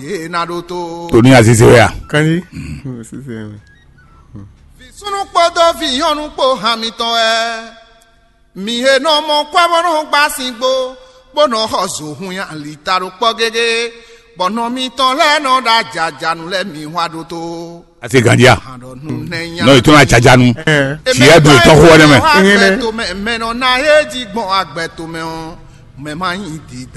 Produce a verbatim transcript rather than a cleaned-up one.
Yě ná ɖótó. Tòní Azize wɛ a? Kanji. Súnú kpódó vǐ nyɔ́nu kpó han mitɔn wɛ. Mi he nɔ mɔ kwɛ́ bɔ nɔ gbá singbo, bó nɔ xɔ zo hun nyi alita ɖo kpɔ́ gégé, bɔ nɔ mitɔn lɛ́ɛ nɔ ɖo ajajanu lɛ́ɛ mi hwa ɖótó. Ase gandia. Aɖɔnu nɛ nya. Nɔ itɔn na jajanu. Tiɛ do tɔxo wɛ nɛ mɛ. Agbɛto mɛ mɛ nɔ na he jí gbɔn agbɛto mɛ ɔ, mɛ ma nyi dida.